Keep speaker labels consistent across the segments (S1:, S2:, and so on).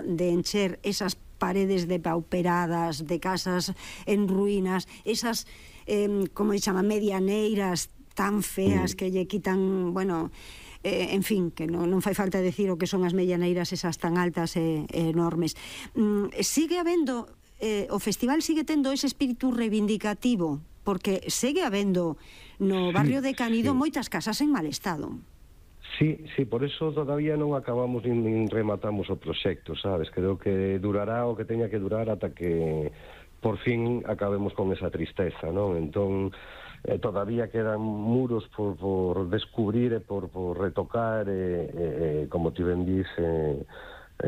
S1: de encher esas paredes depauperadas de casas en ruínas, esas, como se chama, medianeiras tan feas que lle quitan, bueno, en fin, que non fai falta decir o que son as medianeiras esas tan altas e enormes. Sigue habendo, o festival sigue tendo ese espírito reivindicativo, porque segue habendo no barrio de Canido moitas casas en mal estado.
S2: Sí, por eso todavía non acabamos nin rematamos o proxecto, sabes? Creo que durará o que teña que durar ata que por fin acabemos con esa tristeza, non? Entón, todavía quedan muros por descubrir e por retocar, como ti ben dice,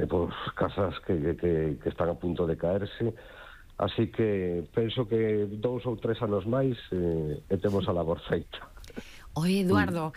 S2: por casas que están a punto de caerse. Así que penso que 2 ou 3 anos máis e temos a labor feita.
S3: Oye, Eduardo,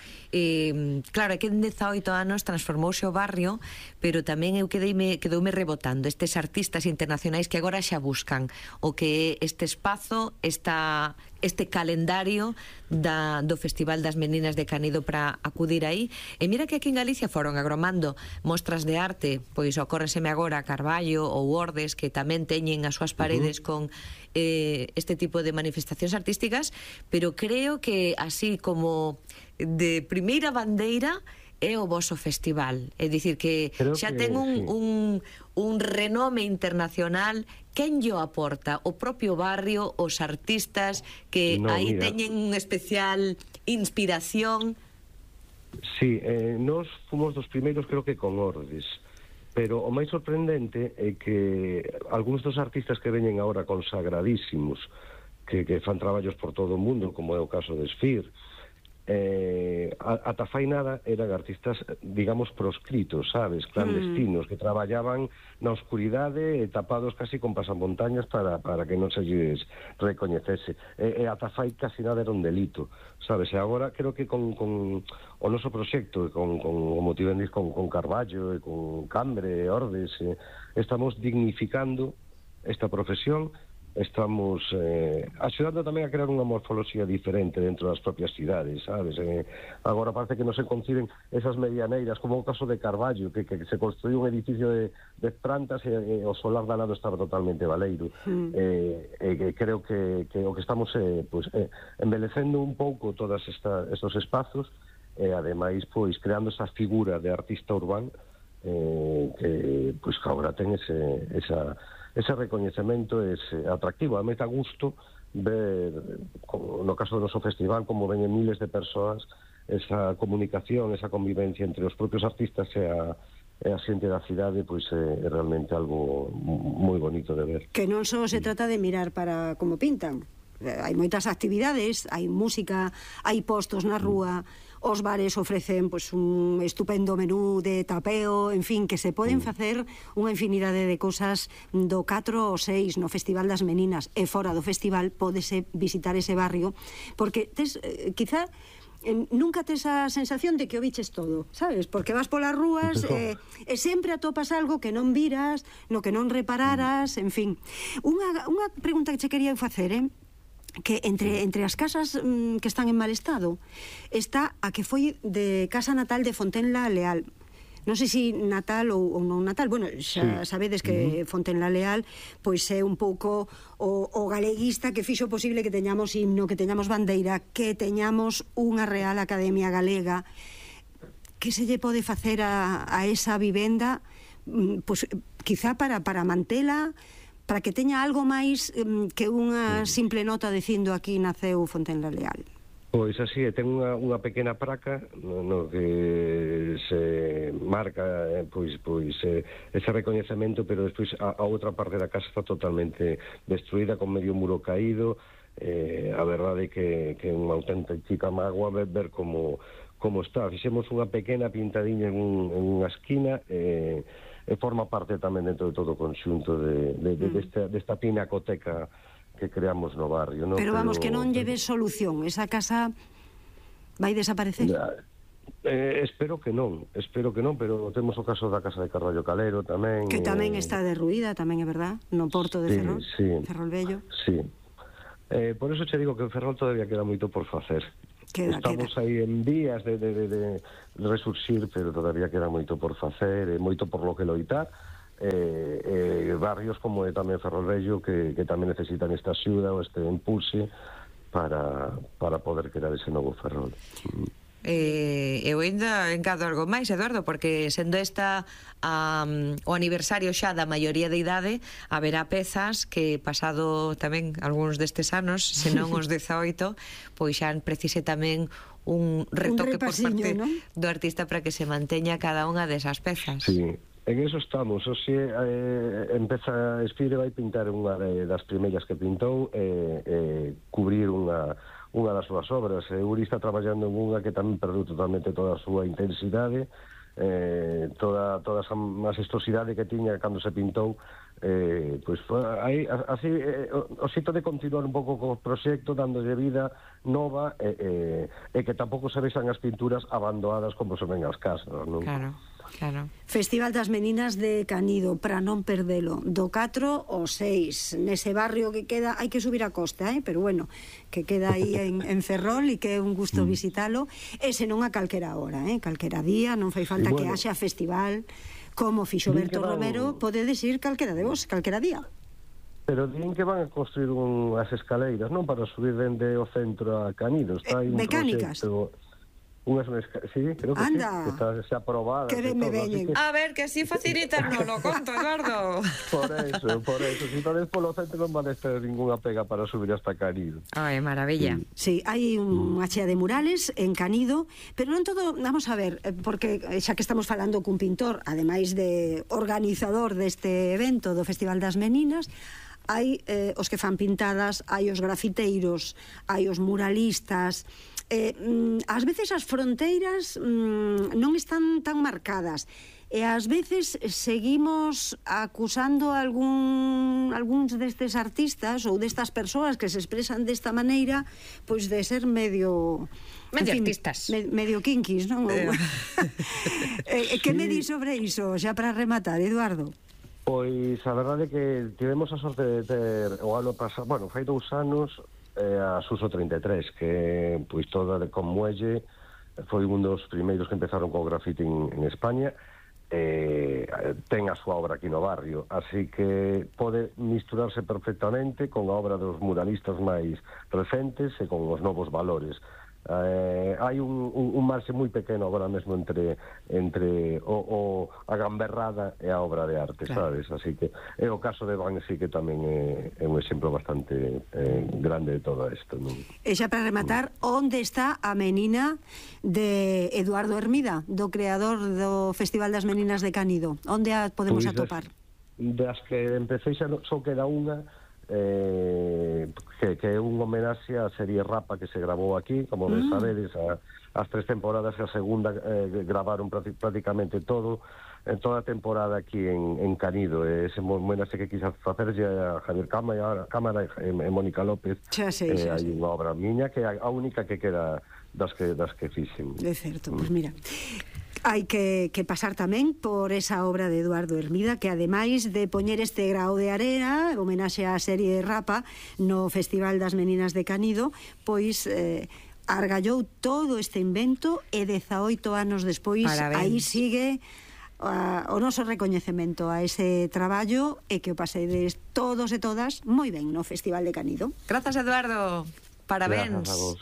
S3: claro, que en 18 anos transformouse o barrio, pero tamén eu quedoume rebotando estes artistas internacionais que agora xa buscan o que este espazo, este calendario do Festival das Meninas de Canido para acudir aí. E mira que aquí en Galicia foron agromando mostras de arte, pois ocórreseme agora Carballo ou Ordes, que tamén teñen as súas paredes con este tipo de manifestacións artísticas, pero creo que así como de primeira bandeira é o voso festival, é dicir que xa ten un renome internacional. Quen llo aporta? O propio barrio, os artistas que aí teñen unha especial inspiración?
S2: Sí, nós fomos dos primeiros, creo que con Ordes, pero o máis sorprendente é que algúns dos artistas que veñen agora consagradísimos, que fan traballos por todo o mundo, como é o caso de Esfir, ata fai nada eran artistas, digamos, proscritos, sabes, clandestinos, que traballaban na oscuridade, tapados casi con pasamontañas para que non se lles recoñecese, e ata fai casi nada era un delito, sabes, e agora creo que con o noso proxecto, como ti ben dis, con Carballo e con Cambre, Ordes, estamos dignificando esta profesión. Estamos axudando tamén a crear unha morfoloxía diferente dentro das propias cidades, sabes? Agora parece que non se conciben esas medianeiras, como o caso de Carballo, que se construiu un edificio de plantas e o solar da lado estaba totalmente baleiro. Creo que o que estamos embelecendo un pouco todos estos espazos e ademais creando esa figura de artista urbano que agora ten ese recoñecemento, ese atractivo. A mí está gusto ver, no caso do noso festival, como veñen miles de persoas, esa comunicación, esa convivencia entre os propios artistas e a xente da cidade, é realmente algo moi bonito de ver.
S1: Que non só se trata de mirar para como pintan. Hai moitas actividades, hai música, hai postos na rúa, os bares ofrecen un estupendo menú de tapeo, en fin, que se poden facer unha infinidade de cosas do 4 ou 6 no Festival das Meninas, e fora do festival pódese visitar ese barrio, porque quizá nunca tes a sensación de que o biches todo, sabes? Porque vas polas rúas e sempre atopas algo que non viras, no que non repararas, en fin. Unha pregunta que che quería facer, que entre as casas que están en mal estado está a que foi de casa natal de Fontenla Leal. Non sei se natal ou non natal. Bueno, xa sabedes que Fontenla Leal pois é un pouco o galeguista que fixo posible que teñamos himno, que teñamos bandeira, que teñamos unha Real Academia Galega. Que se lle pode facer a esa vivenda, pois quizá para mantela, para que teña algo máis que unha simple nota dicindo aquí naceu Fontenla Leal?
S2: Pois así, ten unha pequena praca no que se marca ese recoñecemento, pero despois a outra parte da casa está totalmente destruída, con medio muro caído. A verdade é que é unha auténtica mágoa ver como está. Fixemos unha pequena pintadiña en unha esquina, e forma parte tamén dentro de todo o conxunto desta pinacoteca que creamos no barrio, ¿no?
S1: Pero vamos, que non lleve solución, esa casa vai desaparecer?
S2: Espero que non, pero temos o caso da casa de Carballo Calero tamén,
S1: que tamén está derruída, tamén é verdad, no porto de Ferrol, Ferrol Vello.
S2: Sí, por eso che digo que en Ferrol todavía queda moito por facer. Estamos aí en vías de resurxir, pero todavía queda moito por facer, moito por lo que loitar, barrios como tamén Ferrolvello que tamén necesitan esta axuda ou este impulse para poder crear ese novo Ferrol.
S3: Eu ainda encado algo máis, Eduardo, porque sendo esta o aniversario xa da maioría de idade, haberá pezas que pasado tamén algúns destes anos, senón os 18, pois xa precise tamén un retoque por parte, ¿no?, do artista para que se manteña cada unha desas pezas.
S2: Sí, en eso estamos. Oxe, empeza a Espire, vai pintar unha das primeiras que pintou, cubrir unha das súas obras. Uri está traballando en unha que tamén perdeu totalmente toda a súa intensidade, toda esa majestuosidade que tiña cando se pintou. Pois aí, así, o xito de continuar un pouco co proxecto, dándolle vida nova, e que tampouco se vexan as pinturas abandonadas como son en as casas, non?
S3: Claro. Claro.
S1: Festival das Meninas de Canido, para non perdelo, do 4 ao 6, nese barrio que queda, hai que subir a costa, pero bueno, que queda aí en Ferrol e que é un gusto visitalo, e senón a calquera hora, calquera día, non fai falta que haxa festival, como fixo Berto Romero, podedes ir calquera de vos, calquera día.
S2: Pero din que van a construir unhas escaleiras, non, para subir dende o centro a Canido. Está aí un
S1: mecánicas.
S2: Proxecto... sí, creo que
S1: anda,
S2: sí, que está xa aprobada.
S1: Que me veñen.
S3: A ver, que así facilitan, non lo conto, Eduardo.
S2: Por eso, si tal vez polo centro non van a ter ninguna pega para subir hasta Canido.
S3: Ai, maravilla.
S1: Sí, hai unha chea de murales en Canido, pero non todo, vamos a ver, porque xa que estamos falando cun pintor, ademais de organizador deste evento do Festival das Meninas, hai os que fan pintadas, hai os grafiteiros, hai os muralistas. Ás veces as fronteiras non están tan marcadas, e ás veces seguimos acusando algúns destes artistas ou destas persoas que se expresan desta maneira, pois de ser medio
S3: artistas,
S1: medio kinkis, non? Que me di sobre iso, xa para rematar, Eduardo?
S2: Pois a verdade é que tivemos a sorte de ter o ano pasado, bueno, fai 2 anos, a Suso 33, que pois toda con Muelle foi un dos primeiros que empezaron co grafiti en España. Ten a súa obra aquí no barrio, así que pode misturarse perfectamente con a obra dos muralistas máis recentes e con os novos valores. Hai un marxe moi pequeno agora mesmo entre a gamberrada e a obra de arte, claro, sabes? Así que é o caso de Banksy, que tamén é un exemplo bastante grande de todo isto, non?
S1: E xa para rematar, onde está a menina de Eduardo Hermida, do creador do Festival das Meninas de Canido? Onde a podemos atopar?
S2: Das que empecé xa só queda unha, que é un homenaxe á serie Rapa que se grabou aquí, como ben sabedes, as 3 temporadas, e a segunda gravaron prácticamente toda a temporada aquí en Canido. Ese homenaxe que quizás facerlle a Javier Cámara e Mónica López. Hai unha obra miña que é a única que queda das que fixen.
S1: De certo, pois mira, hai que pasar tamén por esa obra de Eduardo Hermida, que ademais de poñer este grao de arena, homenaxe á serie Rapa no Festival das Meninas de Canido, pois argallou todo este invento, e 18 anos despois aí sigue o noso recoñecemento a ese traballo, e que o pasedes todos e todas moi ben no Festival de Canido.
S3: Grazas, Eduardo. Parabéns.
S2: Grazas a vos.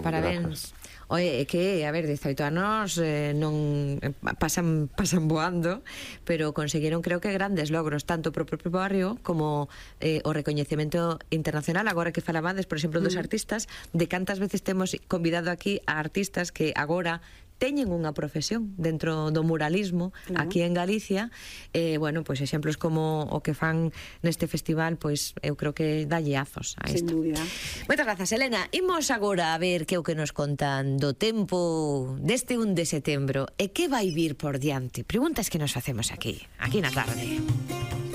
S3: Parabéns. Oye, que, a ver, 18 anos non pasan voando, pero conseguiron, creo que, grandes logros, tanto pro propio barrio como o recoñecemento internacional. Agora que falabades, por exemplo, dos artistas, de cantas veces temos convidado aquí a artistas que agora teñen unha profesión dentro do muralismo, aquí en Galicia. Bueno, pois exemplos como o que fan neste festival, pois eu creo que dalle azos a isto.
S1: Sin dúbida.
S3: Moitas grazas, Elena. Imos agora a ver que é o que nos contan do tempo deste 1 de setembro e que vai vir por diante. Preguntas que nos facemos aquí na tarde.